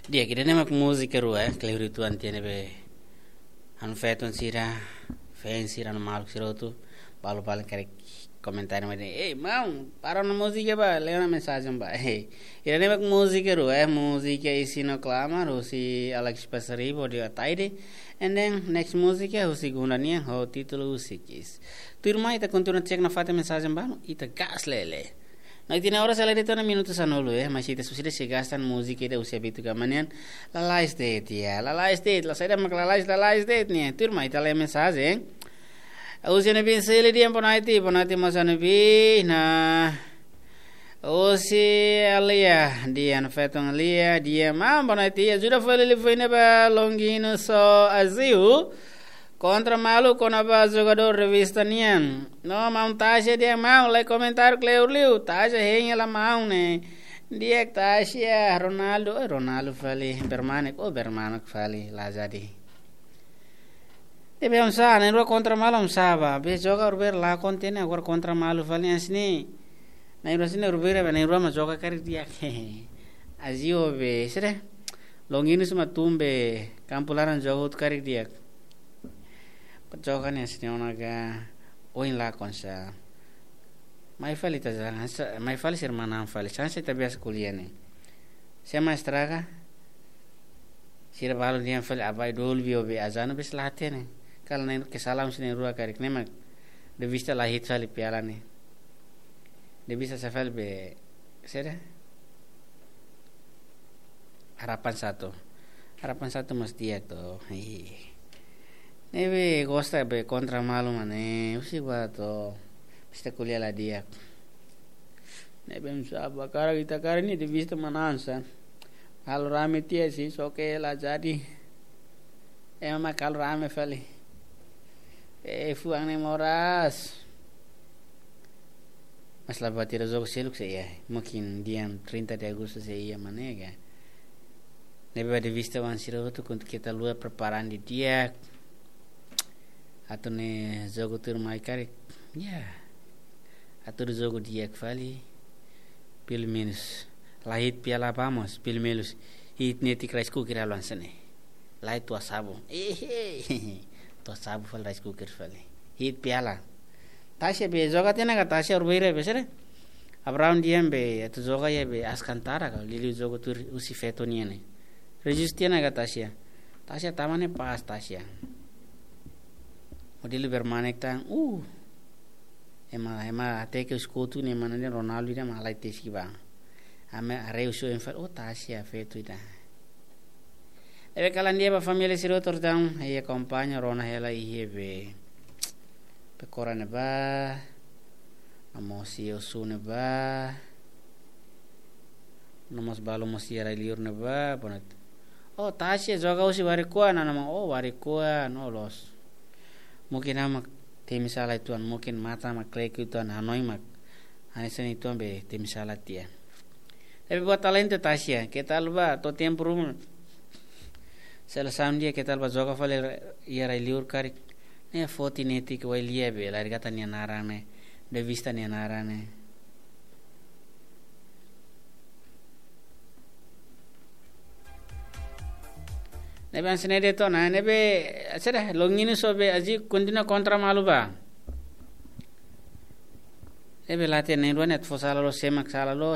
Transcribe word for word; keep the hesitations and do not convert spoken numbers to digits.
Di'ak, ida-ne'e mak múzika rua, eh, kleur uitoan tiha ne'ebé ha'u-nia feton sira, fans sira no maluk sira hotu, balu-balu karik komentáriu mai dehan, "Ei, maun, para ona múzika bá, lee ona mensajen bá." Ida-ne'e mak múzika rua, eh, múzika Isi no Klamar, husi Alex Pasaribu, Dio Ataide, and then next múzika, husi Gunda nian, ho títulu Husi Kiss. Tuirmai ita kontinua cek nafatin mensajen balu, ita gas lele. No ita-nia oras hela de'it ona minutu sanulu, eh, mas ita susida se gasta múzika ida husi Abitu Gama nian, lalais de'it, ya, lalais de'it, la saida mak lalais, lalais de'it nian, tuirmai ita lee mensajen. Husi Anu Bin Sili dehan boa noite, boa noite mós Anu Bin, no husi Alia, dehan feton Alia, dehan maun boa noite, ajuda fali liafuan ne'e ba Longino so Aziu. Kontra malu kona-ba jogadór revista nian. No maun Tasia dehan maun, lai komentáriu kleur liu. Tasia hein hela maun ne'e. Di'ak Tasia, Ronaldo, eh, Ronaldo fali, bermanek, oh, bermanek fali, la jadi. Ne'ebé oinsá, na'in-rua kontra malu oinsá bá. Be joga urber la konta ne'e, agora kontra malu fali hanesan ne'e. Na'in-rua hanesan ne'e urber, be na'in-rua mak joga karik di'ak. Aziu be, sira. Longino suma tumbe, kampu laran joga hotu karik di'ak. Joga ne'e hanesan ne'e ona ka, oin lakon sá. Mai fali ita jangan, sa-, mai fali sira manán fali, chance ita biasa ko'alia ne'e. Sé mak estraga, sira balu dehan fali abai dolu bio be azanu bes la hatene. Kala ne'e kesalahan sira na'in-rua karik ne'e mak. Revista la hiit fali piala ne'e. Revista sá fali be, sira. Harapan satu. Harapan satu mós di'ak to. Ih. Ne'ebé gosta be kontra malu mak ne'e, husik bá to. Bista ko'alia la di'ak. Ne'ebé oinsá bá karik ita karik ne'e revista manán sá. Halo rame tiha sih, só ke la jadi. Ema mak halo rame fali. Eh, fuan ne'e moras. Mas la buat ida, jogu seluk sei iha. Mungkin dia trinta de Agosto sei iha mak ne'e ka. Ne'ebé ba revista-oan sira hotu kuandu keta haluha preparan didi'ak. Atu ne'e jogu tuirmai karik. Ya. Atu jogu di'ak fali. Pelumenus. La hiit piala bá mós, pelumenus. Hiit netik rice cooker halo hanesan ne'e. Lai tua sabu. Ehe. Tua sabu fali rice cooker fali. Hiit piala. Tasia be joga tiha ona ka Tasia urbeira be sira. Abraham dehan be atu joga iha be Alcântara ka liuliu jogu tuir husi feton nian ne'e. Rejista tiha ona ka Tasia. Tasia tama ne'e pas Tasia. Modelu bermanek tan. Uh. Ema, ema hateke husi kotuk ne'e mana dehan Ronaldo dehan mak halai tesik bá. Ami haree husi oin fali, oh Tasia feto ida. Ne'ebé kalan di'ak ba família sira hotu, entaun, i akompaña rona hela iha be. Pekora ne'ebá. No mós iha Osu ne'ebá. No mós balu mós iha rai-liur ne'ebá, bonet. Oh, Tasia joga husi Warikoa, nana mak, oh, Warikoa, no loos. Mungkin ha'u mak temi sala uitoan, mungkin matan mak klek uitoan, hanoin mak. Hanesan ne'e uitoan be temi sala tiha. Tapi buat talentu Tasia, keta haluha to'o tempu ruma. Selesaun di'ak keta haluha joga fali iha rai-liur karik. Ne'e foti netik Wai Lia be, la regata nia naran ne'e, revista nia naran ne'e. Ne'ebé hanesan ne'e de'it ona, ne'ebé, sira, Longino so be, aji kontinua kontra malu bá. Ne'ebé la hatene na'in-rua ne'e atu fó sala loos, sé mak sala loos,